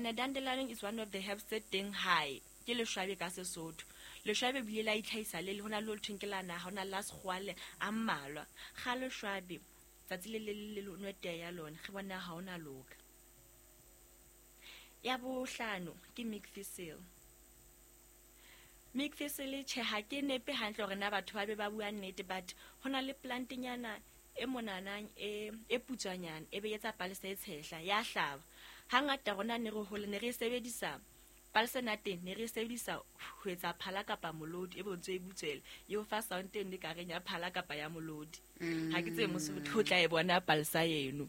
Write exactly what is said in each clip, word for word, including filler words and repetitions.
Ene dandelion is one of the herbs tse teng hae. Ke leshwabe ka Sesotho. Leshwabe bile la itlhahisa le le hona le ho thweng ke la naha, hona le la sekgowa le a mmalwa. Kga leshwabe tsatsi le le le le nwe tee ya lona, re bona ha ona loka. Ya bohlano ke milk thistle. Milk thistle tjhe ha ke nepe hantle hore na batho ba be ba bua nnete, but hona le plantnyana e monanang e e putswanyana e be etsa palesa e tshehla ya hlaba. Hangata rona ne re hole ne re sebedisa palesa na teng, ne re sebedisa ho etsa phala kapa molodi e bontse e butswele e o fa sound e ne ka reng ya phala kapa ya molodi. Ha ke tsebe mosotho o tla e bona palesa eno.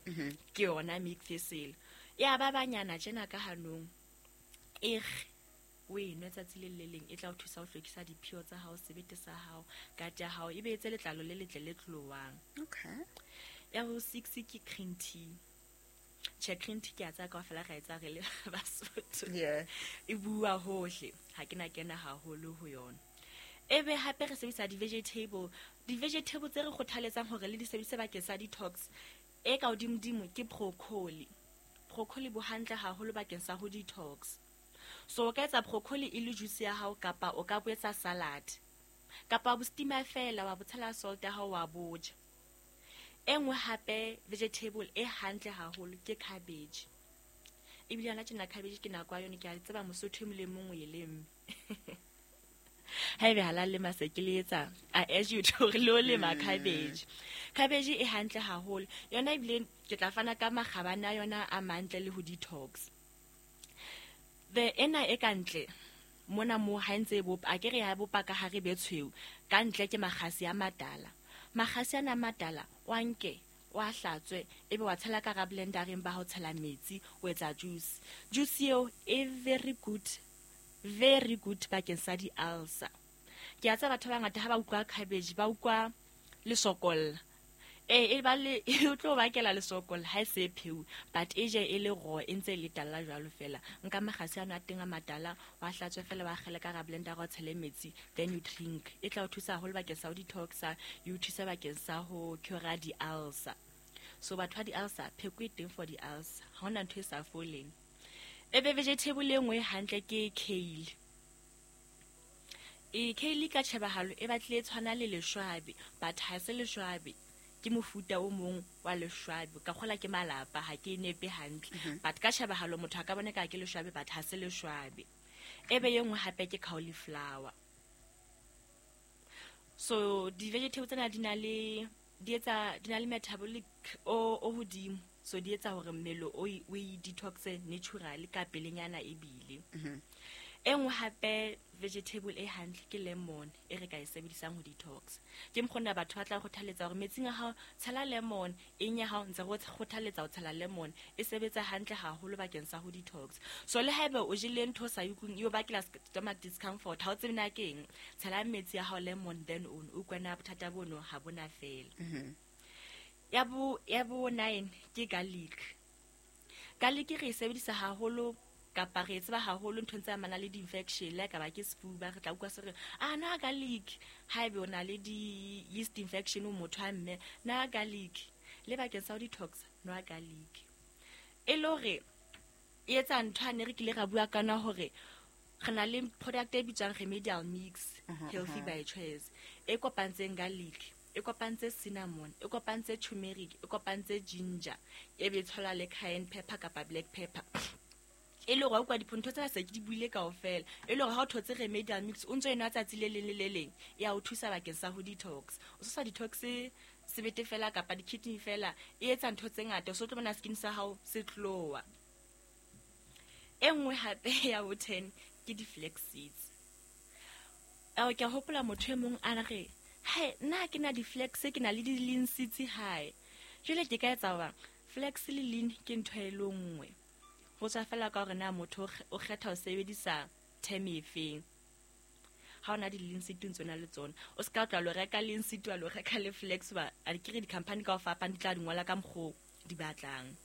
Ke yona milk thistle. Ya ba banyana tjena ka hanong e re o e nwe tsatsi le le leng, e tla o thusa ho hlwekisa diphio tsa hao, sebete sa hao, gut ya hao, e be etse letlalo le letle le tlowang. Okay. Ya bo six ke green tea. Tjhe, green tea ke a tsaya kaofela ra e tsaya re le Basotho. Yeah. E bua hohle, ha ke na kena haholo ho yona. Ebe hape re sebedisa di-vegetable. Di-vegetable tse re kgothaletsang hore le di sebedise bakeng sa detox, e ka hodimodimo ke broccoli. Broccoli bo hantle haholo bakeng sa ho detox. So o ka etsa broccoli e le juice ya hao, kapa o ka bo etsa salad, kapa bo steamer fela wa bo tshela salt ya hao wa bo ja. E nngwe hape vegetable e hantle haholo ke cabbage. Ebile yona tjena cabbage ke nako ya yona, ke a tseba Mosotho e mong le mong o e lemme. Haebe ha la lema se ke le etsa, I urge you to hore le o lema Mm. cabbage. Cabbage e hantle haholo. Yona ebile ke tla fana ka makgabane a yona a mantle le ho detox. The ena e ka ntle mona mo ha ntse e bopa, a ke re ya bopa ka hare be tshweu, ka ntle ke makgasi a matala. Makgasi ana a matala wa nke wa hlatswe, ebe wa tshela ka hara blendereng ba ho tshela metsi, o etsa juice. Juice eo e very good, very good bakeng sa di-ulcer. Ke a tseba batho ba bangata ha ba utlwa cabbage ba utlwa lesokolla. Ee, e ba le, e o tlo bakela lesokolla ha e se e pheuwe, but e je e le raw, e ntse e le tala jwalo fela. Nka makgasi ano a teng a matala, wa hlatswe fela, wa akgele ka hara blender, wa tshele metsi, then you drink. E tla o thusa haholo bakeng sa ho detoxa, e o thusa bakeng sa ho cure di-ulcer. So batho ba di-ulcer, pheko e teng for di-ulcer, ha hona ntho e sa foleng. Ebe vegetable e nngwe hantle ke kale. E kale ka tjhebahalo e batlile e tshwana le leshwabe, but ha se leshwabe, ke mofuta o mong wa leshwabe. Ka kgola ke malapa, ha ke e nepe hantle. Mhm. But ka tjhebahalo motho a ka bona ka ke leshwabe, but ha se leshwabe. Ebe e nngwe hape ke cauliflower. So di-vegetable tsena di na le, di etsa, di na le metabolic o, o hodimo. So di etsa hore mmele o e, o e detoxe naturally ka pelenyana ebile. Mhm. E nngwe hape vegetable e hantle ke lemon e re ka e sebedisang ho detox. Ke mokgona batho ba tla kgothaletsa hore metsing a hao tshela lemon, eng ya hao ntse re o kgothaletsa ho tshela lemon, e sebetsa hantle haholo bakeng sa ho detox. So le haeba o jele ntho o sa e utlweng e o bakela stomach discomfort, ha o tsebe na ke eng, tshela metsi a hao lemon, then o utlwe na bothata bono ha bona fela. Mhm. Ya bo, ya bo nine ke garlic. Garlic re e sebedisa haholo kapa re e tseba haholo nthong tse amanang le di-infection, le ha ekaba ke sefuba, re tla utlwa se re, ah, nwa garlic. Haebe o na le di-yeast infection o motho wa mme, nwa garlic. Le bakeng sa ho detox, nwa garlic. E le hore e etsa ntho ane re kile ra bua ka yona hore re na le product e bitswang remedial mix, Mhm, healthy mhm. by choice, e kopantseng garlic, e kopantse cinnamon, e kopantse turmeric, e kopantse ginger, e be e tshola le cayenne pepper kapa black pepper. E le hore ha o kwa dintho tsena se ke di buile kaofela, e le hore ha o thotse remedial mix o ntso e nwa tsatsi le leng le le leng, e a o thusa bakeng sa ho detox. O so sa detox sebete fela kapa di-kidney fela, e etsa ntho tse ngata, o so tlo bona skin sa hao se tloha. E nngwe hape ya bo ten ke di-flax seeds. Ao, ke a hopola motho e mong a re, hai, nna ha ke na di-flax, ke na le di-lin seeds hae. Jwale ke ka etsa hobang flax le lin ke ntho e le nngwe. Ho tswa fela ka hore na motho o kge-, o kgetha ho sebedisa term efeng. Ha ona di-lin seed o ntso na le tsona, o ska tla lo reka lin seed wa lo reka le flax, ba a ke re di-company ka ho fapana di tla di ngola ka mokgo di batlang.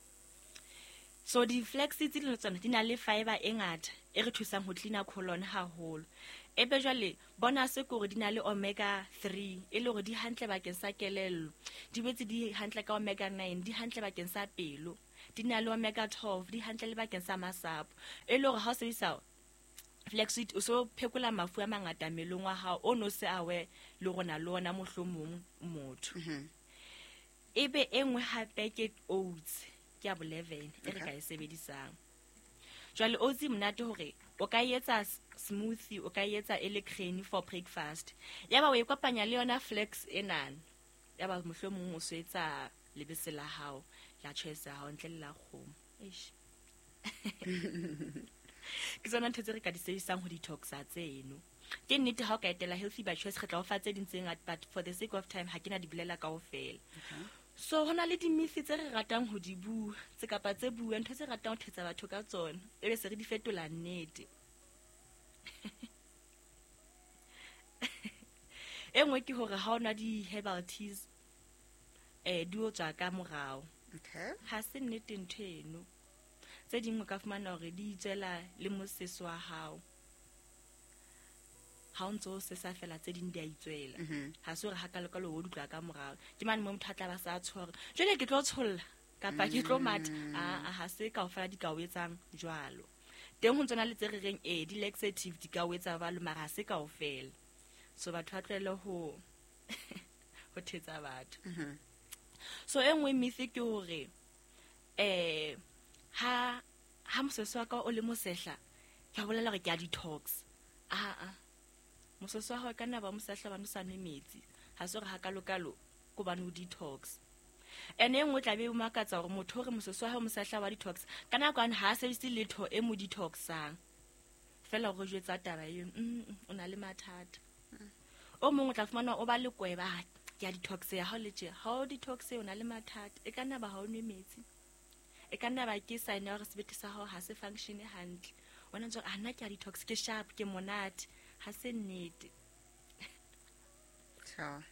So di-flax seeds le tsona di na le fiber e ngata e re thusang ho cleaner colon haholo. Ebe jwale bona se ke hore di na le omega three, e le hore di hantle bakeng sa kelello, di boetse di hantle ka omega nine, di hantle bakeng sa pelo, Di na le omega twelve, di hantle le bakeng sa masapo. E le hore ha o sebedisa flaxseed o so phekola mafu a mangata mmeleng wa hao o no se awe le rona le ona mohlomong motho. Ebe e nngwe hape ke oats, ke ya bo eleven e re ka e sebedisang. Jwale oats e monate hore o ka etsa smoothie, o ka etsa e le cream for breakfast. Yaba o e kopanya le yona flax enana. Yaba mohlomong o so etsa lebese la hao, la choice ya hao ntle le la kgomo. Eish. Ke tsona ntho tse re ka di sebedisang ho detoxa tseno. Ke nnete ha o ka etela Healthy by Choice re tla o fa tse ding tse ngata, but for the sake of time ha ke na di bolela kaofela. So ho na le di-myth tse re ratang ho di bua, tse kapa tse bua, ntho tse ratang ho thetsa batho ka tsona, ebe se re di fetola nnete. E nngwe ke hore ha o nwa di-herbal teas, eh, di o tswa ka morao. Okay. Ha se nnete ntho eno. Tse ding o ka fumana hore di itswela le moseso wa hao. Ha o ntso o sesa fela tse ding di a itswela. Ha se hore hakalokalo o di utlwa ka morao. Ke mane moo motho a tla ba sa tshwara. Jwale ke tlo tsholla kapa ke tlo matha. Ah, ha se kaofela di ka o etsang jwalo. Teng ho ntsona le tse re reng eh di laxative di ka o etsa jwalo, mara ha se kaofela. So batho ba tlohele ho ho thetsa batho. So e nngwe myth ke hore eh ha ha moseso wa ka o le mosehla ke a bolela hore ke a detox. Ah ah. Moseso wa hao e ka nna ba mosehla hobane o sa nwe metsi. Ha se hore hakalokalo ke hobane o detox. Ene e nngwe tla be o makatsa hore motho o re moseso wa hao mosehla wa detox ka nako ane ha a sebedise letho e mo detoxang. Feela hore o jwetsa taba eo, mm, mm, o na le mathata. O mong o tla fumana o ba le kweba, ah, ke a detox ya hao le tje. Ha o detox o na le mathata. E ka nna ba ha o nwe metsi. E ka nna ba ke sign ya hore sebete sa hao ha se function hantle. Wena ntse o re, ah, nna ke a detox, ke sharp, ke monate. Ha se nnete. Sure.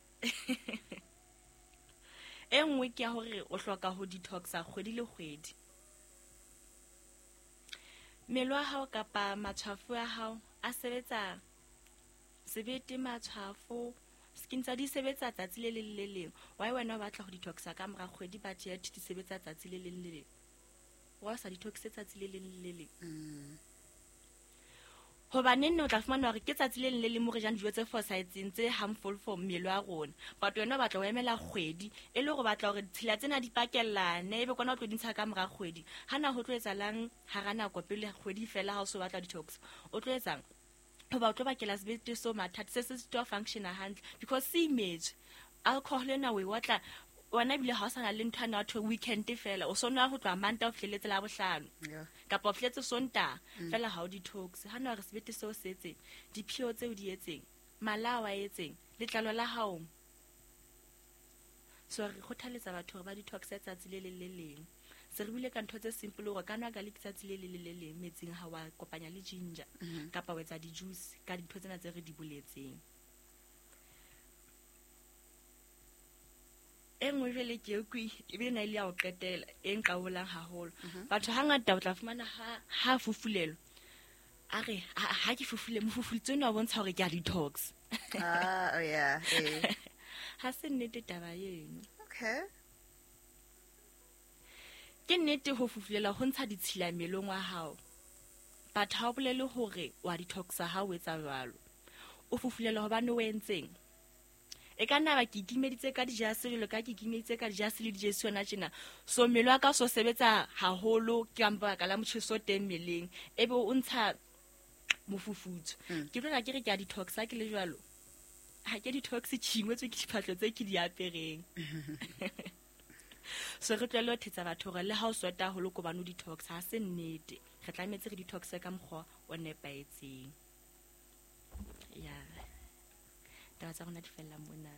E nngwe ke ya hore o hloka ho detoxa kgwedi le kgwedi. Mmele wa hao kapa matshwafo a hao a sebetsa sebete, matshwafo, skin tsa di sebetsa tsatsi le leng le leng. Why wena o batla ho detoxa ka mora kgwedi but yet di sebetsa tsatsi le leng le leng? Wa sa detoxe tsatsi le leng le leng? Mm. Hobane nne o tla fumana hore ke tsatsi le leng le leng mo re jang dijo tse fosahetseng tse harmful for mmele wa rona. But wena o batla ho emela kgwedi e le hore o batla hore ditshila tsena di pakellane ebe kona o tlo di ntsha ka mora kgwedi. Ha na ho tlo etsahalang hara nako pele kgwedi fela ha o so batla detox? O tlo etsang? Hoba o tlo bakela sebete so mathata, se se sitwa function-a hantle because se imetswe. Alcohol ena o e otla wena ebile ha o sa na le ntho ena ya ho thwe weekend fela, o so nwa ho tloha Mantaha ho fihlelletse Labohlano. Yeah. Kapa o fihletse Sontaha, Mm. fela ha o detox. Ha na hore sebete seo se etseng, diphio tseo di etseng, mala a wa etseng, letlalo la hao. So re kgothaletsa batho hore ba detoxe tsatsi le leng le leng. Se re buile ka ntho tse simple hore ka nwa garlic tsatsi le leng le le leng metsing ha wa kopanya le ginger Mm-hmm. kapa wa etsa di-juice ka dintho tsena tse re di boletseng. E nngwe jwale ke e kwi, ebile na e le ya ho qetela e nqabolang haholo. Mm-hmm. Batho hangata o tla fumana ha, ha fufulelwa, a re, ha, ha ke fufule, mofufuletse ona o bontsha hore ke a detox. Ah, oh yeah, eh. Ha se nnete taba eno. Okay. Ke nnete ho fufulela ho ntsha ditshila mmeleng wa hao. But ha o bolele hore wa detoxa ha o etsa jwalo. O fufulela hobane o entseng? E ka nna ba ke ikimeditse ka dijase jwalo ka ke ikimeditse ka dijase le dijesi yona tjena. So mmele wa ka o so sebetsa haholo ke ka lebaka la motjheso o teng mmeleng. Ebe o ntsha mofufutso. Mm. Ke tlo ke re ke a detoxa ke le jwalo. Ha ke detox tshingwetswe ke diphahlo tse ke di apereng. So re tlohelle ho thetsa batho hore le ha o sweta haholo ko bane o detox, ha se nnete. Re tlametse re detoxe ka mokgwa o nepahetseng. Ya. Taba tsa rona di fella mona.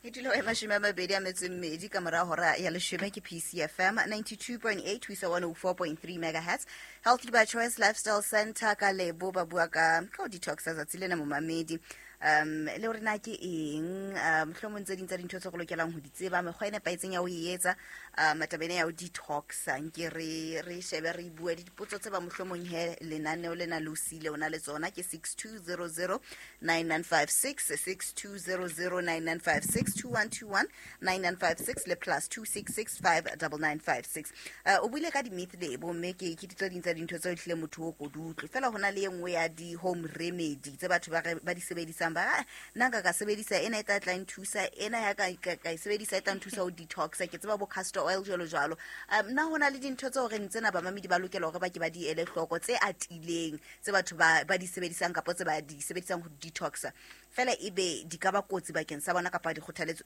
E dula e mashome a mabedi a metso e mmedi ka mora hora ya leshome ke P C F M ninety-two point eight ho isa one oh four point three megahertz. Healthy by Choice Lifestyle Center ka Lebo ba bua ka ka ho detoxa tsatsi lena momamedi. Um, le hore na ke eng, um, mohlomong tse ding tsa dintho tse re lokelang ho di tseba, mekgwa e nepahetseng ya ho e etsa, Um taba ena ya ho detoxa nke re re shebe re bue dipotso tse ba mohlomong he lenaneo lena le o siile o na le tsona ke six two zero zero nine nine five six six two zero zero nine nine five six two one two one nine nine five six le plus two six six five double nine five six. Uh, o buile ka di-myth lebo mme ke ke tse ding tsa dintho tseo ehlile motho o ko di utlwe fela ho na le e nngwe ya di-home remedy tse batho ba re- ba di sebedisang ba re, "Ah, nna nka ka sebedisa ena e tla tla nthusa ena ya ka ka ka e sebedisa e tla nthusa ho detoxa ke tseba bo castor oil jwalo jwalo um nna ho na le dintho tse horeng tsena bamamedi ba lokela hore ba ke ba di ele hloko tse atileng tse batho ba ba di sebedisang kapa tse ba di sebedisang ho detoxa fela ebe di ka ba kotsi bakeng sa bona kapa dikgothaletso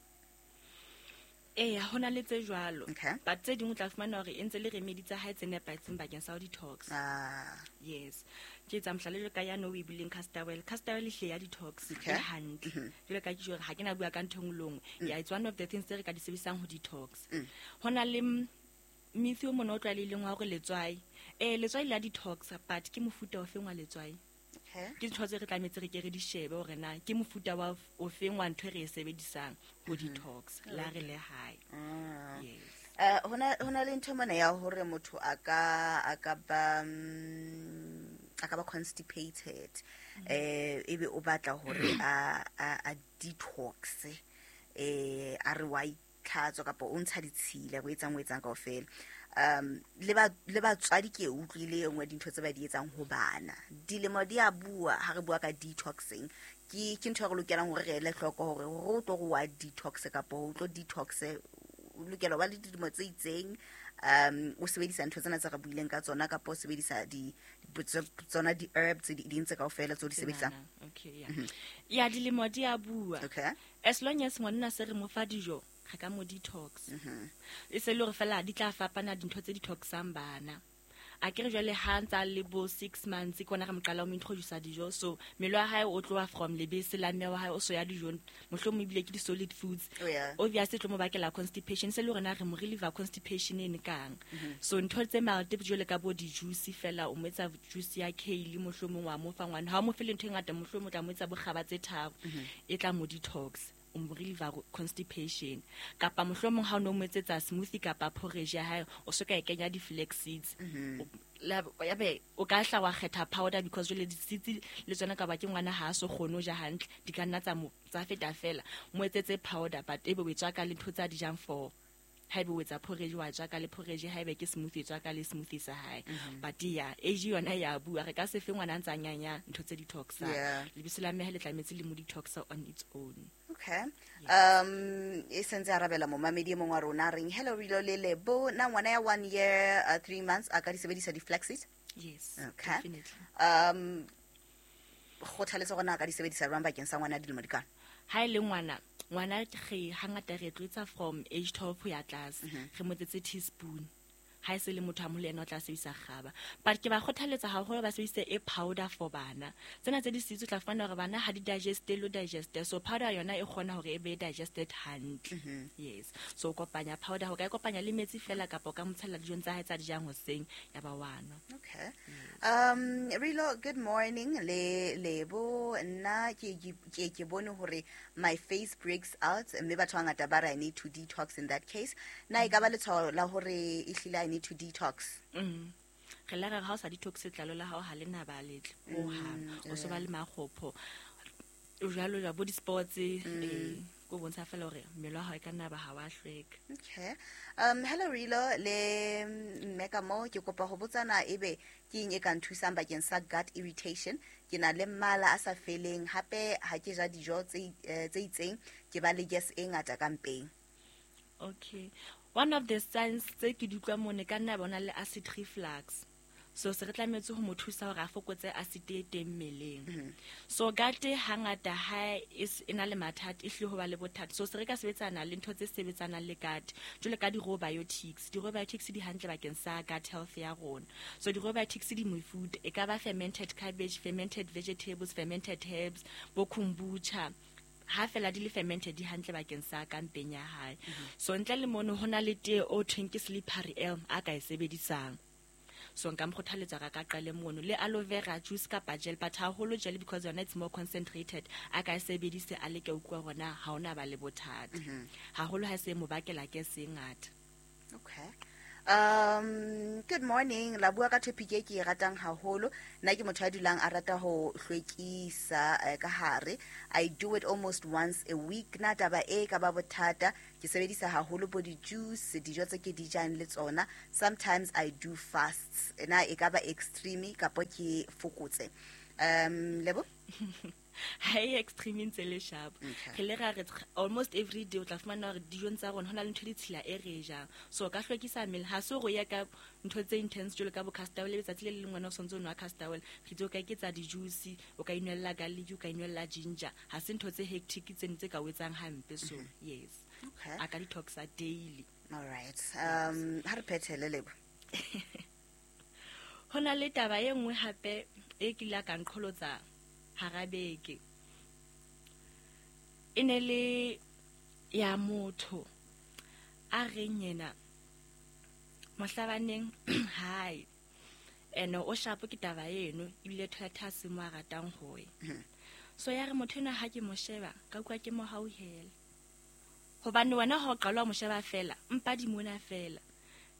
Eya, ho na le tse jwalo. Okay. But tse ding o tla fumana hore e ntse le remedy tsa hae tse nepahetseng bakeng sa ho detox. ah Yes. Ke etsa mohlala jwalo ka yane o e buileng castor oil. Castor oil ehlile ya detox Okay. e hantle. Jwalo ka ke tjho hore ha ke na bua ka ntho e nngwe le nngwe. Yeah, it's one of the things tse re ka di sebedisang ho detox. Ho na le m- myth o mona o tlwaelehileng wa hore letswai. Eh letswai le ya detox but ke mofuta ofeng wa letswai? okay Ke dintho tse re tlametse re ke re di shebe hore na ke mofuta wa ofeng wa ntho e re e sebedisang ho detox la re le hae. ah Yes. Eh hona hona le ntho mona ya hore motho a ka a ka ba mm, a ka ba constipated eh ebe o batla hore a a a detox eh a re wa itlhatswa kapa o ntsha ditshila o etsang o etsang kaofela um le ba le batswadi ke e utlwile e nngwe dintho tse ba di etsang ho bana dilemo di a bua ha re bua ka detoxing ke ke ntho e re lokelang hore re ele hloko hore hore o tlo re wa detox kapa o tlo detox o lokela ho ba le dilemo tse itseng um o sebedisa ntho tsena tse re buileng ka tsona kapa o sebedisa di tse- tsona di-herb tse di ding tse kaofela tse o di sebedisang Tsenana. Okay, yeah. Ya dilemo di a bua. okay As long as ngwanona se re mo fa dijo, re ka mo detox. E se le hore fela di tla fapana dintho tse detoxang bana. A ke re jwale ha ntsa le bo six months ke ona re mo qala ho mo introduce dijo so mmele wa hae o tloha from lebese la mme wa hae o so ya dijong mohlomong ebile ke di-solid foods Oh, yeah. obviously e tlo mo bakela constipation se le hore na re mo reliever constipation ene kang so ntho tse mild jwale ka bo di-juice fela o mo etsa juice ya kale mohlomong wa mo fa ngwana ha o mo fe le ntho e ngata mohlomong o tla mo etsa bokgaba tse tharo e tla mo detox o mo reliever constipation kapa mohlomong ha o no mo etsetsa smoothie kapa porridge ya hae o so ka e kenya di-flax seeds O- la- ya be o ka hla wa kgetha powder because jwale di-seeds le tsona ka ba ke ngwana ha a so kgone ho ja hantle di ka nna tsa mo tsa feta fela mo etsetse powder but ebe o e tswaka le ntho tse a di jang for haebe o etsa porridge wa tswaka le porridge haebe ke smoothie e tswaka le smoothie sa hae but ya age yona ya bua re ka se fe ngwana a ntsa nyanya ntho tse detoxang Yeah. lebese la mmehe le tlametse le mo detoxa on its own okay um e sentse arabela momamedi e mongwe wa rona a reng hello rilo le lebo na ngwana ya one year uh, three months a ka di sebedisa di-flaxseed yes Okay. definitely um kgothaletso gona a ka di sebedisa jwang bakeng sa ngwana ya dilemo di kana ha e le ngwana ngwana re hangata re tlo etsa from age twelve ho ya tlase re mo etsetse teaspoon ha e se le motho a moholo ena o tla sebedisa kgaba but ke ba kgothaletsa haholo ba sebedise e powder for bana tsena tse di sitse o tla fumana hore bana ha di digeste lo digeste so powder yona e kgona hore e be digested hantle yes so o kopanya powder ho ka e kopanya le metsi fela kapa o ka mo tshela dijong tsa hae tsa di jang hoseng ya ba wa nwa okay um rilo good morning le lebo nna ke ke ke ke bone hore my face breaks out mme batho ba bangata ba re i need to detox in that case na e ka ba letshwao la hore ehlile i need to detox Mm. re la re ha o sa detox letlalo la hao ha le na ba letle hohang o so ba le makgopho o jwalo jwalo bo di-sports eh ko bontsha fela hore mmele wa hao e ka nna ba ha wa hlweka okay um hello rilo le mme ka mo ke kopa ho botsana ebe ke eng e ka nthusang bakeng sa gut irritation ke na le mmala a sa feleng hape ha ke ja dijo tse eh, tse itseng ke ba le gas e ngata ka mpeng okay one of the signs tse ke di utlwa mone ka nna bona le acid reflux so se re tlametse ho mo thusa hore a fokotse acid e teng mmeleng so gut hangata ha e s- e na le mathata e hlile ho ba le bothata so se re ka sebetsana le ntho tse sebetsanang le gut jwalo ka di-probiotics di-probiotics di hantle bakeng sa gut health ya rona so di-probiotics di mefuta e ka ba fermented cabbage fermented vegetables fermented herbs bo kombucha ha fela di le fermented di hantle bakeng sa ka mpeng ya hae so ntle le mono ho na le tee o thweng ke slippery elm a ka e sebedisang so nka mo kgothaletsa ka ka qale mono le aloe vera juice kapa gel but haholo gel because yona it's more concentrated a ka e sebedise a leke utlwa hore na ha ona ba le bothata haholo ha se mo bakela ke se ngata Okay. Um, good morning. La bua ka topic e ke e ratang haholo. Nna ke motho a dulang a rata ho hlwekisa eh, ka hare. I do it almost once a week. Na taba e ka ba bothata. Ke sebedisa haholo bo di-juice, dijo tse ke di jang le tsona. Sometimes I do fasts. Na e ka ba extreme kapo ke fokotse. Um, Lebo? Ha e extreme ntse le sharp. Okay. Re le ra re almost every day o tla fumana hore dijong tsa rona ho na le ntho e ditshila e re e jang. So o ka hlwekisa mmele, ha se hore o ye ka ntho tse intense jwalo ka bo castor oil, letsatsi le le leng wena o sontse o nwa castor oil. Re itse o ka eketsa di-juice, o ka inwella garlic, o ka inwella ginger. Ha se ntho tse hectic tseno tse ka o etsang hampe. So yes, Okay. a ka detoxa daily. All right. Um, ha re phethele, Lebo. Ho na le taba e nngwe hape e kile ka nqholotsa hara beke. E ne le ya motho a reng yena mohlabaneng hae, ene o shapo ke taba eno, ebile toilet ha se mo a ratang ho ya. So ya re motho ena ha ke mo sheba ka utlwa ke mo hauhela, hobane wena ha o qala o mo sheba fela mpa di mona fela,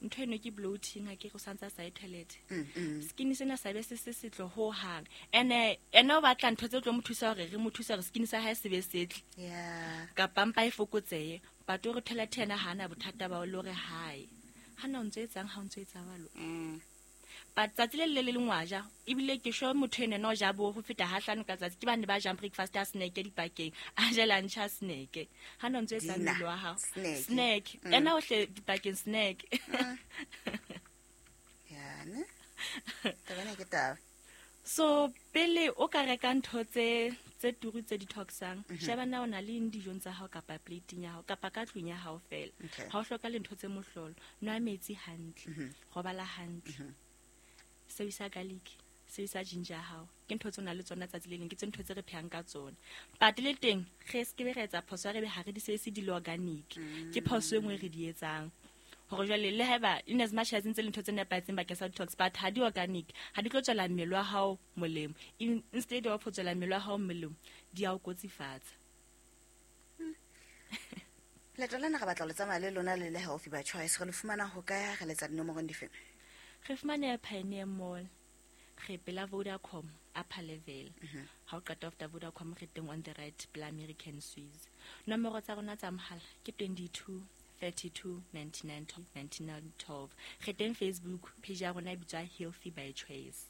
ntho eno ke bloating, ha ke re o santse a sa ye toilet. Mm, mm. Skin sena sa be se se setle ho hang, ene ene o batla ntho tse tlo mo thusa hore re mo thusa hore skin sa hae se be setle Yeah. kapa mpa e fokotsehe. But o re toilet yena ha ana bothata ba ho le hore hae ha na o ntso etsang ha o ntso etsa jwalo. Mm. But tsatsi le le le leng wa ja, ebile ke sure motho ene no ja bo ho feta ha hlano ka tsatsi. Ke bane ba jang breakfast ya snack dipakeng, a je lunch ya snack. Ha na o ntso etsa Dinner, mmele wa hao. snack. Snack. Mm. Ena o hle dipakeng snack. Yeah, ne? Taba ena ke taba. So pele o ka reka ntho tse tse turu tse detoxang, sheba na o na le eng dijong tsa hao kapa plating ya hao kapa ka tlung ya hao fela. Okay. Ha o hloka le ntho tse mohlolo, nwa metsi hantle, robala hantle, sebedisa garlic, sebedisa ginger ya hao. Ke ntho tse o nang le tsona tsatsi le leng, ke tse ntho tse re phehang ka tsona. But le teng re se ke be ra etsa phoso ya re be ha re di sebedise di le organic. Ke phoso e nngwe re di etsang. Hore jwale le haeba in as much as ntse le ntho tse nepahetseng bakeng sa detox, but ha di organic, ha di tlo tswela mmele wa hao molemo. In, instead of ho tswela mmele wa hao molemo, di a o kotsifatsa. Leeto lena re batla ho le tsamaya le lona le le Healthy by Choice. Re le fumana ho kae, re letsa dinomorong dife? Re fumaneha Pioneer Mall, re pela Vodacom upper level. Ha o qeta after Vodacom re teng on the right pela American Swiss. Nomoro tsa rona tsa mohala ke twenty-two thirty-two ninety-nine ninety-nine twelve. Re teng Facebook page ya rona e bitswa Healthy by Choice.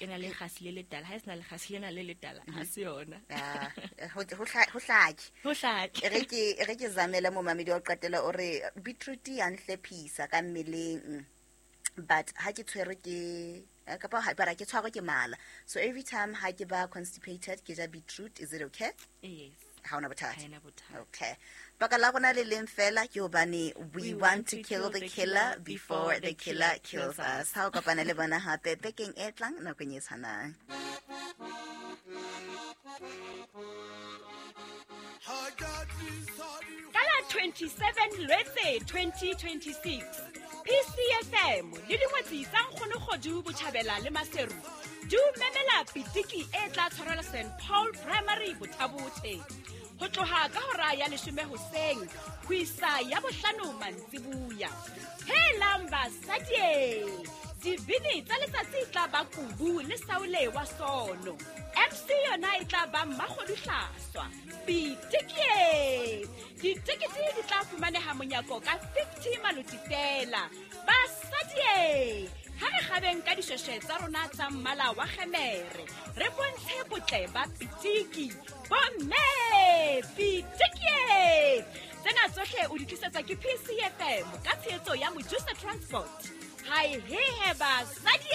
E na le kgasi le letala, ha e sena lekgasi lena le letala, ha se yona. Ah, ho ho hla- ho hlake. Ho hlake. E re ke e re ke zamele momamedi wa ho qetela o re beetroot ya nhlephisa ka mmeleng, but ha ke tshwerwe ke eh, kapa ha bara ke tshwarwe ke mala, so every time ha ke ba constipated ke ja beetroot. Is it okay? Yes. Ha ona bothata. Ha ena bothata. Okay. Baka la rona le leng fela ke hobane we want to kill the killer before the killer kills us. Ha o kopana le bona hape bekeng e tlang nakong e tshwanang. Ka la twenty-seven Lwetse twenty twenty-six, P C F M le dingwetsi tsa Nkgono Kgodu Botjhabela le Maseru di o memela pitiki e tla tshwarelwa Saint Paul Primary Bothabothe ho tloha ka hora ya leshome hoseng ho isa ya bohlano mantsibuya. Helang basadi, dibini tsa letsatsi e tla ba Kubu le Saule wa Sono. M C yona e tla ba Mmakgodu Hlaswa. Pitiki! Ditekete di tla fumaneha monyako ka fifty maloti fela. Basadi, ha re kgabeng ka dishweshwe tsa rona tsa mmala wa kgemere, re bontshe botle ba pitiki. Bomme, pitiki! Tsena tsohle o di tlisetswa ke P C F M ka tshehetso ya Mojusa Transport. Hai he he basadi!